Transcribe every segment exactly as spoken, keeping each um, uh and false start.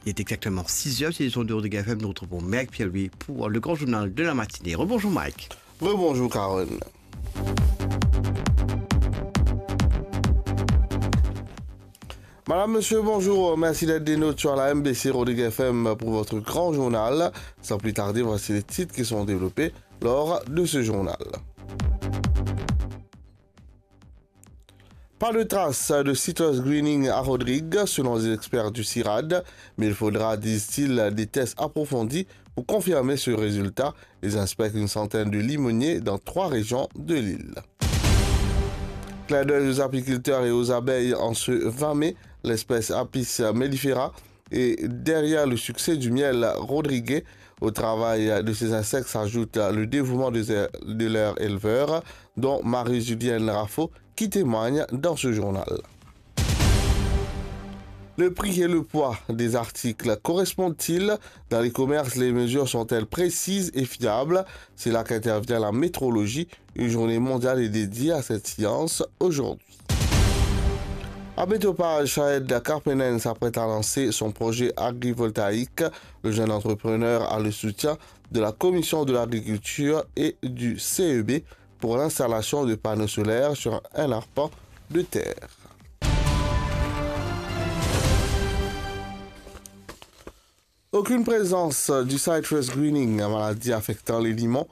Il est exactement six heures, c'est l'édition de Rodrigue F M. Nous retrouvons Mike Pierre-Louis pour le grand journal de la matinée. Rebonjour Mike. Rebonjour Carole. Madame, monsieur, bonjour. Merci d'être des nôtres sur la M B C Rodrigue F M pour votre grand journal. Sans plus tarder, voici les titres qui sont développés lors de ce journal. Pas de trace de citrus greening à Rodrigues, selon les experts du CIRAD, mais il faudra, disent-ils, des tests approfondis pour confirmer ce résultat. Ils inspectent une centaine de limoniers dans trois régions de l'île. Clin d'œil aux apiculteurs et aux abeilles en ce vingt mai, l'espèce Apis mellifera est derrière le succès du miel rodriguais. Au travail de ces insectes s'ajoute le dévouement de, de leurs éleveurs, dont Marie-Julienne Raffo, qui témoigne dans ce journal. Le prix et le poids des articles correspondent-ils ? Dans les commerces, les mesures sont-elles précises et fiables ? C'est là qu'intervient la métrologie. Une journée mondiale est dédiée à cette science aujourd'hui. À Betopage, Shahed Karpenen s'apprête à lancer son projet agrivoltaïque. Le jeune entrepreneur a le soutien de la Commission de l'Agriculture et du C E B pour l'installation de panneaux solaires sur un arpent de terre. Aucune présence du citrus greening, la maladie affectant les limons,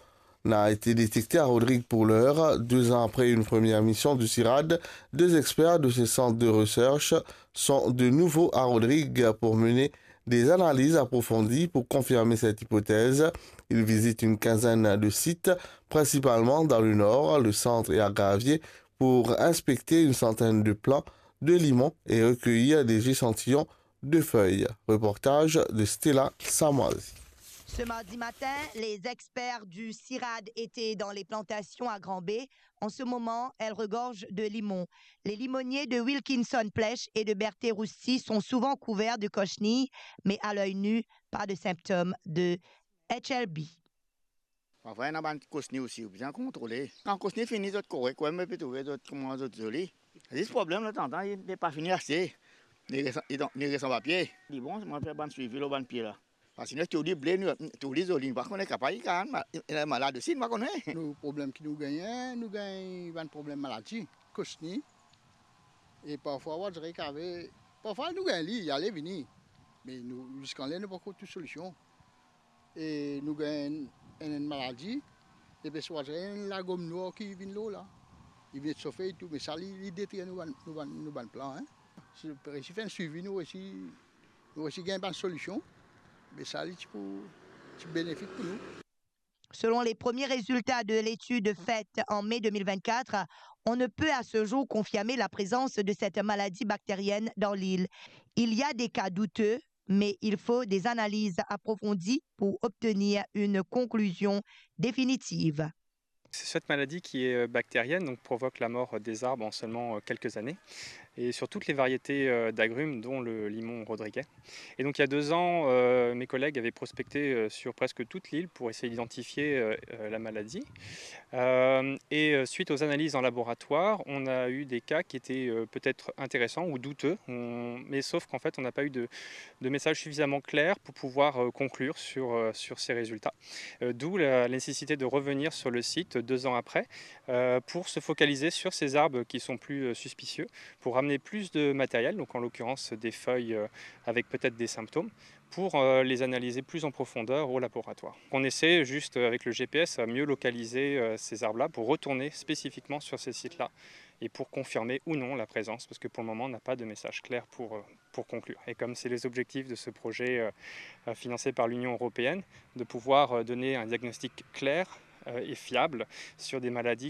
n'a été détectée à Rodrigues pour l'heure. Deux ans après une première mission du CIRAD, deux experts de ce centre de recherche sont de nouveau à Rodrigues pour mener des analyses approfondies pour confirmer cette hypothèse. Ils visitent une quinzaine de sites, principalement dans le nord, le centre et à Graviers, pour inspecter une centaine de plants de limon et recueillir des échantillons de feuilles. Reportage de Stella Samoizi. Ce mardi matin, les experts du CIRAD étaient dans les plantations à Grand-Baie. En ce moment, elles regorgent de limon. Les limoniers de Wilkinson Plech et de Berthe Roussy sont souvent couverts de cochenilles, mais à l'œil nu, pas de symptômes de H L B. Parfwa ena bann kosni osi, ou bizin kontrole. Kan kosni fini, zot korek, wi, me pe trouve zot kouma zot zoli. Zis problem, tanzantan, li, li pa fini ase. Li res, li dan, li res an papie. Li bon, mwa fer bann swivi lor bann pie la. Parski nou trouv li ble, nou trouv li zoli, nou pa kone, kapav li kapav ma-, ena malad osi, nou pa kone. Nou problem ki nou gagne, nou gagn bann problem maladi, kosni. E parfwa, ou dir ki ave, parfwa nou gagn li, ale vini. Me nou, ziska la, nou pankor trouv solision. E nou gagn enn, enn maladi, depi swa enn lagom nwar ki vinn lor la. Li vinn sofe e tou, me sa li, li detrir nou bann, nou bann, nou bann plan, en. Si nou resi fer enn swivi, nou resi, nou resi gagn bann solision, me sa li ti pou, ti benefik pou nou. Selon les premiers résultats de l'étude faite en mai deux mille vingt-quatre, on ne peut à ce jour confirmer la présence de cette maladie bactérienne dans l'île. Il y a des cas douteux, mais il faut des analyses approfondies pour obtenir une conclusion définitive. C'est cette maladie qui est, euh, bactérienne, donc provoque la mort des arbres en seulement, euh, quelques années, et sur toutes les variétés, euh, d'agrumes, dont le limon rodriguais. Et donc, il y a deux ans, euh, mes collègues avaient prospecté, euh, sur presque toute l'île pour essayer d'identifier, euh, euh, la maladie. Euh, et, euh, suite aux analyses en laboratoire, on a eu des cas qui étaient, euh, peut-être intéressants ou douteux, on, mais sauf qu'en fait, on n'a pas eu de, de message suffisamment clair pour pouvoir, euh, conclure sur, euh, sur ces résultats. Euh, d'où la nécessité de revenir sur le site deux ans après, euh, pour se focaliser sur ces arbres qui sont plus, euh, suspicieux, pour ramener plus de matériel, donc en l'occurrence des feuilles, euh, avec peut-être des symptômes, pour, euh, les analyser plus en profondeur au laboratoire. On essaie juste, euh, avec le G P S, à mieux localiser, euh, ces arbres-là pour retourner spécifiquement sur ces sites-là et pour confirmer ou non la présence, parce que pour le moment, on n'a pas de message clair pour, euh, pour conclure. Et comme c'est les objectifs de ce projet, euh, euh, financé par l'Union européenne, de pouvoir, euh, donner un diagnostic clair, euh, et fiable sur des maladies